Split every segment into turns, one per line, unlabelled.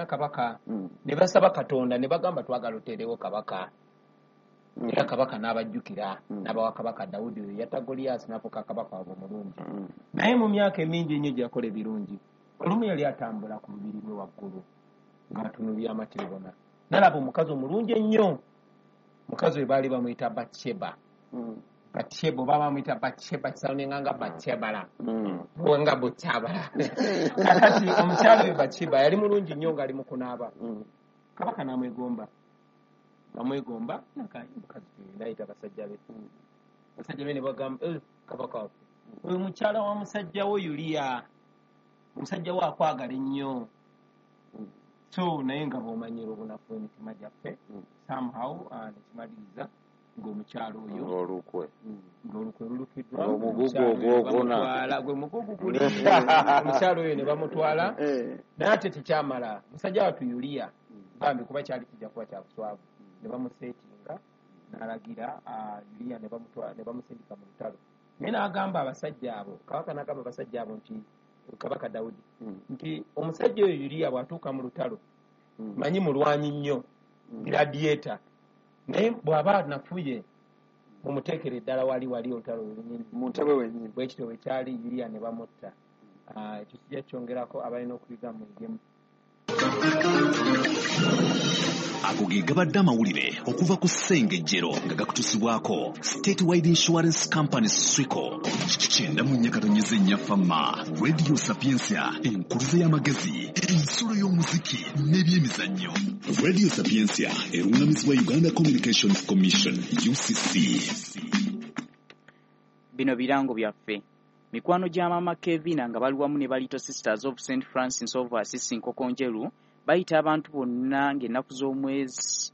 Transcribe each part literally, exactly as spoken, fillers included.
Kabaka
Mm.
ne basaba Katonda ne bagamba, "Twagala oteerewo kabaka."
Mm.
Era kabaka n'abajjukira,
Mm.
n'abawa Kabaka Dawudi, oyo yatta Goliyasi n'afuuka kabaka waabwe omulungi.
Mm.
Naye mu myaka emingi ennyo gye yakola ebirungi, olumu yali atambula ku lubiri lwe waggulu ng'atunulira amatiribona, n'alaba omukazi omulungi ennyo. Mukazi we baali bamuyita Batsheba.
Mm.
Batsheba oba bamuyita Batsheba, kisoundinga nga Batshebala
Mm.
nga Bukyabala. Kakati omukyala oyo Batsheba yali mulungi nnyo ng'ali mu kunaaba.
Mm.
Kabaka n'amwegomba, amwegomba mukazi, nayita abasajja be. Basajja be ne bagamba, "Eh, kabaka waffe, oyo mukyala wa musajja wo Yuliya, omusajja wo akwagala ennyo." So naye nga bw'omanyira obunafu emitima gyaffe,
Mm.
somehow uh, nekimaliriza ng'omukyala oyo
ng'olukwe
ng'olukwe lulukiddwa.
Ng'omugugu
Omukyala oyo ne
ogwokuna.
bamutwala, gwe mugugu guli, omukyala oyo ne bamutwala.
Eh.
Naye ate tekyamala, musajja wattu Yuliya bambi, kuba kyali kijja kuba kya buswavu, ne bamuseetinga n'alagira ah, Yuliya ne bamutwala ne bamusindika mu lutalo. Naye n'agamba abasajja abo, kabaka n'agamba abasajja abo nti, Kabaka Dawudi,
Mm.
nti omusajja oyo Yuliya bw'atuuka mu lutalo,
Mm.
manyi mulwanyi nnyo,
Mm.
gladiator, naye bw'aba anafuye mumuteekere eddala wali wali olutalo lwenyini.
Mu ntebe wennyini.
Bwe kityo bwe kyali, Yuliya ne bamutta. Ah, ekyo kijja kyongerako abalina okuyiga muyigemu.
Ago ge gabadde amawulire okuva ku Ssengejjero nga gakutusibwako State Wide Insurance Company, SWICO. Kyenda mu nnya katonyeza ennya Fama Radio Sapiensia, enkuluze y'amagezi, ensulo y'omuziki n'ebyemizannyo. Radio Sapiensia eruŋŋamizibwa Uganda Communications Commission, U C C.
Bino birango byaffe. Mikwano gya Maama Kevina nga bali wamu ne ba Little Sisters of Saint Francis of Assisi Nkokonjeru bayita abantu bonna ng'ennaku z'omwezi,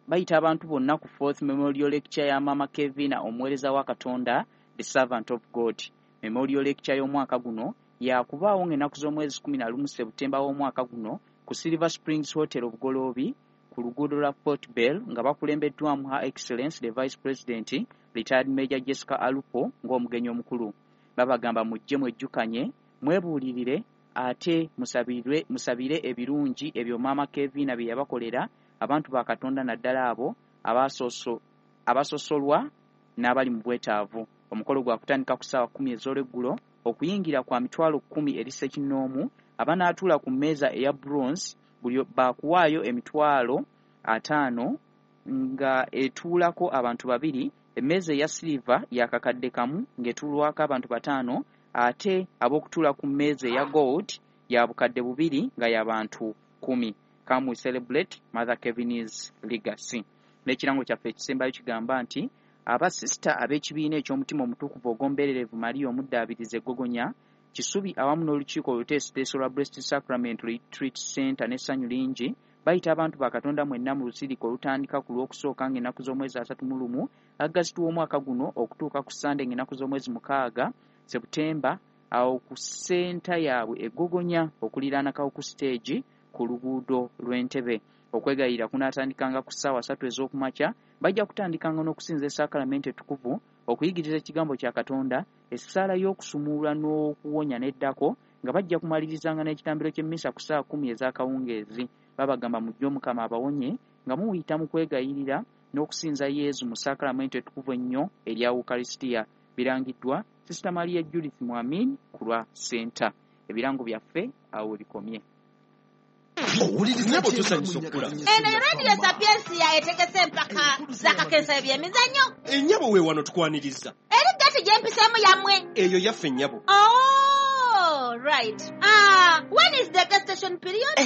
bayita abantu bonna ku fourth memorial lecture ya Maama Kevina, omuweereza wa Katonda, the servant of God. Memorial lecture y'omwaka guno yakubaawo ng'ennaku z'omwezi kumi na lumu Sebutemba w'omwaka guno ku Silver Springs Hotel, Obugoloobi, ku luguudo lwa Port Bell, nga bakulembeddwamu Her Excellence the Vice President, Retired Major Jessica Alupo, ng'omugenyi omukulu. Babagamba mujje mwejjukanye, mwebuulirire, ate musabirwe, musabire ebirungi ebyo Maama Kevina bye yabakolera abantu ba Katonda, naddala abo abasoso abasosolwa n'abali mu bwetaavu. Omukolo gwa kutandika ku ssaawa kkumi ez'olweggulo. Okuyingira kwa mitwalo kkumi eri ssekinnoomu. Abanaatuula ku mmeeza eya bronze buli baakuwaayo emitwalo ataano nga etuulako abantu babiri. Emmeeza eya silver yakakadde kamu ng'etuulwako abantu bataano, ate ab'okutuula ku mmeeza eya gold ya bukadde bubiri nga y'abantu kumi. Come, we celebrate Mother Kevin's legacy. N'ekirango kyaffe ekisembayo kigamba nti abasisita ab'ekibiina eky'Omutima Omutukuvu Ogw'Ombeererevu Mariya Omuddaabiriza Eggogonya Kisubi, awamu n'olukiiko oluteesiteesi olwa Blessed Sacrament Retreat Center, n'essanyu lingi bayita abantu ba Katonda mwenna mu lusirika olutandika ku Lwokusooka ng'ennaku z'omwezi asatu mu lumu Agasiti w'omwaka guno okutuuka ku Sande ng'ennaku z'omwezi mukaaga Sebutemba, awo ku senta yaabwe Eggogonya okuliraana Kawuku Stage ku luguudo lw'Entebe. Okwegayirira kunaatandikanga ku ssaawa ssatu ez'okumakya. Bajja kutandikanga n'okusinza esaakalamente ettukuvu, okuyigiriza ekigambo kya Katonda, essaala y'okusumulula n'okuwonya n'eddako, nga bajja kumalirizanga n'ekitambiro ky'emmisa ku ssaawa kkumi ez'akawungeezi. Babagamba mujje, Omukama abawonye nga muyita mu kwegayirira n'okusinza Yezu mu saakalamenti ettukuvu ennyo erya Ukarisitiya. Birangiddwa Sisita Maria Judith Mwamin ku lwa senta. Ebirango byaffe awo we bikomye.
Nabo tusanyusa okukula.
Eno Radio Sapiensia etegese empaka z'akakensa ebyemizannyo.
Ennyabo we wano tukwaniriza.
Eri gati gyempiseemu yammwe?
Eyo yaffe, nnyabo.
Oh, right. Ah, when is the gestation period?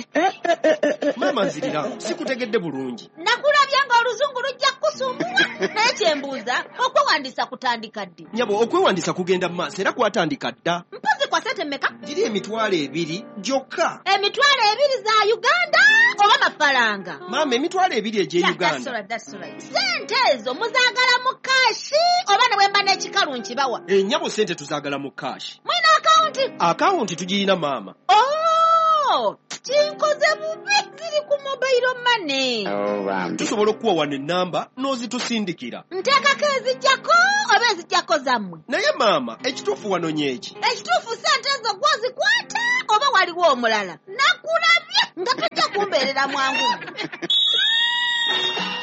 Maama nzirira, sikutegedde bulungi.
Nakulabye ng'oluzungu lujja kukusumbuwa, naye kyembuuza, okwewandiisa kutandika ddi?
Nnyabo, okwewandiisa kugenda mu maaso era kwatandika dda.
Mpozi kwa sente mmeka?
Giri emitwalo ebiri gyokka.
Emitwalo ebiri za Uganda oba mafaranga?
Maama, emitwalo ebiri egy'e
Yeah, that's
Uganda.
right, that's right. Sente ezo muzaagala mu cash oba ne bwe mba n'ekikalu nkibawa?
Ennyabo, sente tuzaagala mu cash.
Mulina akawunti?
Akawunti tugirina, maama.
Oh, kinkoze bubi, ziri ku mobile money.
Tusobola okuwa wano ennamba n'ozitusindikira.
Nteekako ezijjako oba ezijjako zammwe?
Naye maama, ekituufu wanonye eki?
Ekituufu, sente ezo gwozikwata oba waliwo omulala? Nakulabye nga tojja. Kumbeerera mwangu.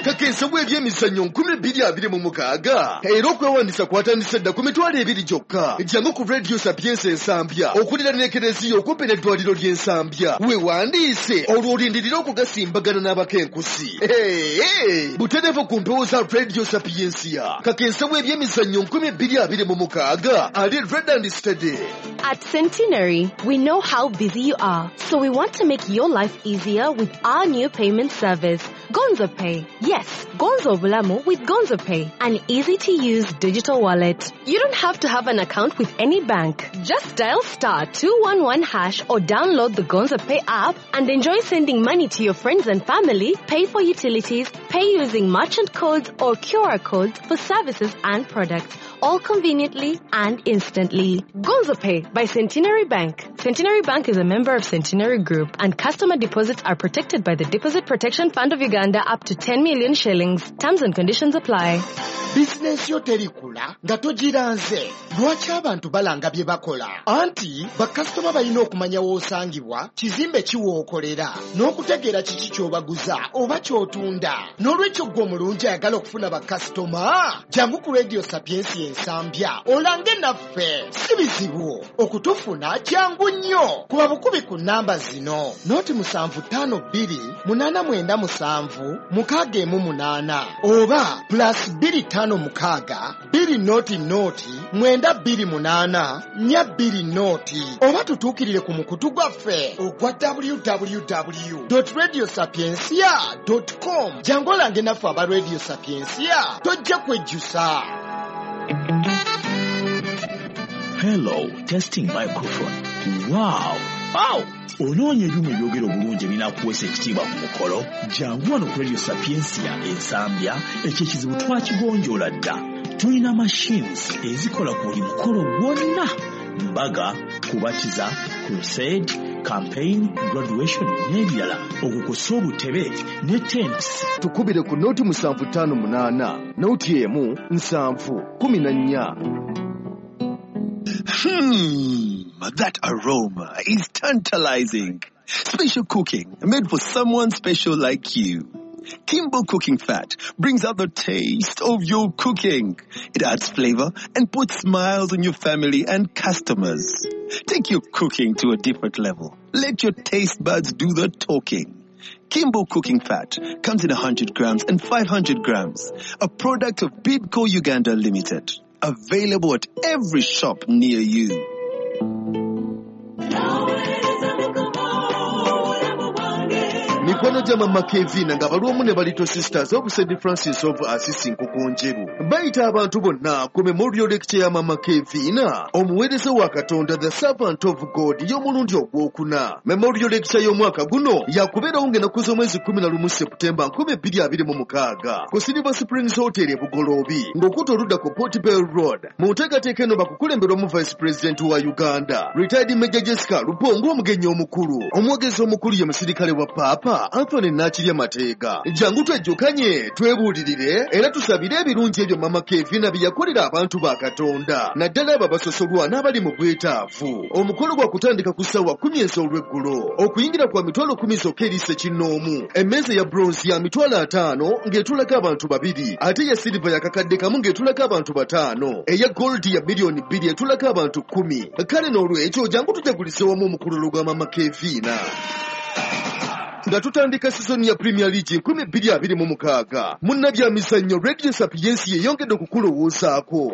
Kakensa bw'ebyemizannyo nkumi bbiri abiri mu mukaaga era okwewandiisa kwatandise dda ku mitwalo ebiri gyokka. Jangu ku Radio Sapientia Ensambya okuliraana Ekereziya okumpi n'eddwaliro ly'Ensambya, weewandiise olwo olindirire okugasimbagana n'abakenkusi. Butereevu ku mpewo za Radio Sapientia. Kakensa bw'ebyemizannyo nkumi bbiri abiri mu mukaaga ali red and steady.
At Centenary, we know how busy you are, so we want to make your life easier with our new payment service, Gonzo Pay. Yes, Gonzo Bulamu with Gonzo Pay, an easy-to-use digital wallet. You don't have to have an account with any bank. Just dial star two one one hash or download the Gonzo Pay app and enjoy sending money to your friends and family, pay for utilities, pay using merchant codes or Q R codes for services and products, all conveniently and instantly. Gonzo Pay by Centenary Bank. Centenary Bank is a member of Centenary Group, and customer deposits are protected by the Deposit Protection Fund of Uganda up to ten million shillings. Terms and conditions apply.
Bizinensi yo terikula nga togiranze. Lwaki abantu balanga bye bakola? Anti bakasitoma balina okumanya w'osangibwa, kizimbe ki w'okolera, n'okutegeera kiki ky'obaguza oba ky'otunda. N'olwekyo ggwe omulungi ayagala okufuna bakasitoma, jangu ku Radio Sapientia Ensambya olange naffe. Si bizibu okutufuna, jangu nnyo. Kuba bukubi ku nnamba zino: noti musanvu ttaano bbiri munaana mwenda musanvu mukaaga emu munaana oba plus bbiri ttaano mukaaga bbiri noti noti mwenda bbiri munaana nnya bbiri noti, oba tutuukirire ku mukutu gwaffe ogwa w w w dot radio sapientia dot com. Jangu olange naffe aba Radio Sapientia, tojja kwejjusa.
Hello, testing microphone. Wow! Wow! Onoonya ebyuma ebyogera obulungi ebinaakuweesa ekitiibwa ku mukolo? Jangu wano ku Radio Sapientia Ensambya, ekyo ekizibu twakigonjoola dda. Tulina machines ezikola ku buli mukolo gwonna: mbaga, kubatiza, crusade, campaign, graduation n'ebirala, okukosa obutebe ne tents.
Tukubire ku noti musanvu ttaano munaana noti emu nsanvu kumi na nnya.
Hmm, that aroma is tantalizing. Special cooking made for someone special like you. Kimbo Cooking Fat brings out the taste of your cooking. It adds flavor and puts smiles on your family and customers. Take your cooking to a different level. Let your taste buds do the talking. Kimbo Cooking Fat comes in one hundred grams and five hundred grams. A product of Bidco Uganda Limited. Available at every shop near you.
Mikwano gya Mama Kevina nga bali ne Little Sisters of Saint Francis of Assisi Nkokonjeru bayita abantu bonna ku memorial lecture ya Mama Kevina, omuweereza wa Katonda, the servant of God, y'omulundi ogwokuna. Memorial lecture y'omwaka guno yakubeerawo ng'ennaku z'omwezi kumi na lumu Septemba nkumi bbiri abiri mu mukaaga ku Silver Springs Hotel e Bugoloobi, ng'okutta oludda ku Port Bell Road. Mu nteekateeka eno bakukulemberwamu Vice President wa Uganda, retired Major Jessica Lupongo, omugenyi omukulu. Omwogezi omukulu ye musirikale wa Paapa Anthony Nakirya Mateega. Jangu twejjukanye, twebuulirire era tusabire ebirungi ebyo Mama Kevina bye yakolera abantu ba Katonda, naddala abo abasosolwa n'abali mu bwetaavu. Omukolo gwa kutandika ku ssaawa kkumi ez'olweggulo, okuyingira kwa mitwalo kkumi zokka eri ssekinnoomu. Emmeeza ya bronze ya mitwalo ataano ng'etulako abantu babiri, ate eya silver ya kakadde kamu ng'etulako abantu bataano, eya gold ya miliyoni bbiri etulako abantu kkumi. Kale n'olwekyo jangu tujagulize wamu omukululo gwa Mama Kevina. Nga tutandika sizoni ya Premier League nkumi bbiri abiri mu mukaaga, munnabyamizannyo Radio Sapientia yeyongedde okukulowoozaako.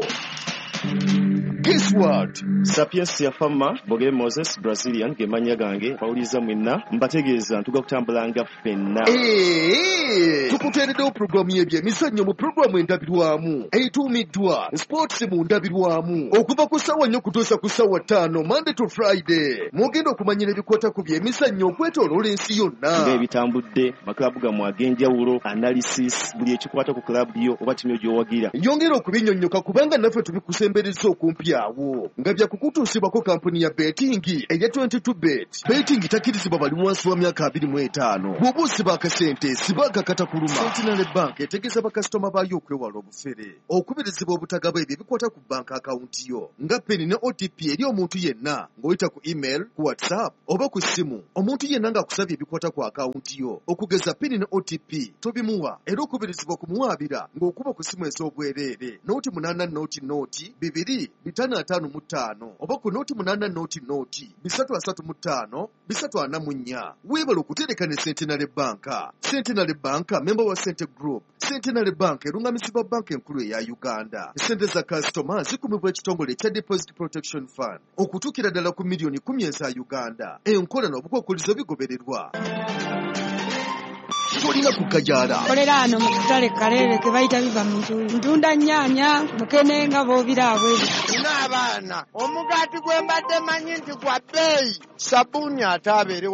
Guess what?
Sapientia Fama, Bogere Moses, Brazilian, ge mannya gange, bawuliza mwenna, mbategeeza ntuga kutambulanga ffenna.
Eee, tukuteereddewo pulogulaamu y'ebyemizannyo mu pulogulaamu endabirwamu etuumiddwa Sports mu ndabirwamu, okuva ku ssaawa nnya okutuusa ku ssaawa ttaano Monday to Friday. Mugenda okumanyira ebikwata ku byemizannyo okwetooloola ensi yonna,
ng'ebitambudde, makilaabu gammwe ag'enjawulo, analysis, buli ekikwata ku kilaabu yo oba ttiimu yo gy'owagira.
Yongera okubinnyonnyoka kubanga naffe tubikusembereza okumpi biri awo nga byakukutuusibwako kampuni ya betting eya twenty-two bet. Betting takkirizibwa bali wansi wa myaka abiri mu etaano. Bw'oba osiba akasente siba akakata kuluma. Centenary Bank etegeeza bakasitoma baayo okwewala obufere, okubirizibwa obutagaba ebyo ebikwata ku banka akawunti yo nga PIN ne O T P eri omuntu yenna ng'oyita ku email, ku WhatsApp oba ku ssimu. Omuntu yenna ng'akusabye ebikwata ku akawunti yo okugeza PIN ne O T P tobimuwa, era okubirizibwa okumuwaabira ng'okuba ku ssimu ez'obwereere nooti munaana nooti nooti bibiri bitaano ataano mu ttaano oba ku nooti munaana nooti nooti bisatu asatu mu ttaano bisatu ana mu nnya. Weebale okutereka ne Centenary Bank. Centenary Bank member wa Sente Group. Centenary Bank erungamizibwa banka enkulu eya Uganda. Sente za kasitoma zikumibwa ekitongole ekya Deposit Protection Fund okutuukira ddala ku miliyoni kumi eza Uganda. Enkola n'obukwakkulizo bigobererwa. Tolina kukajaala.
Kolera ano mu katale Kaleere ke bayita biva mu ntundu. Ntunda nnyaanya, mukene nga bw'obira abweru.
Nina abaana, omugaati gwe mbadde manyi nti gwa bbeeyi, sabbuuni ate abeere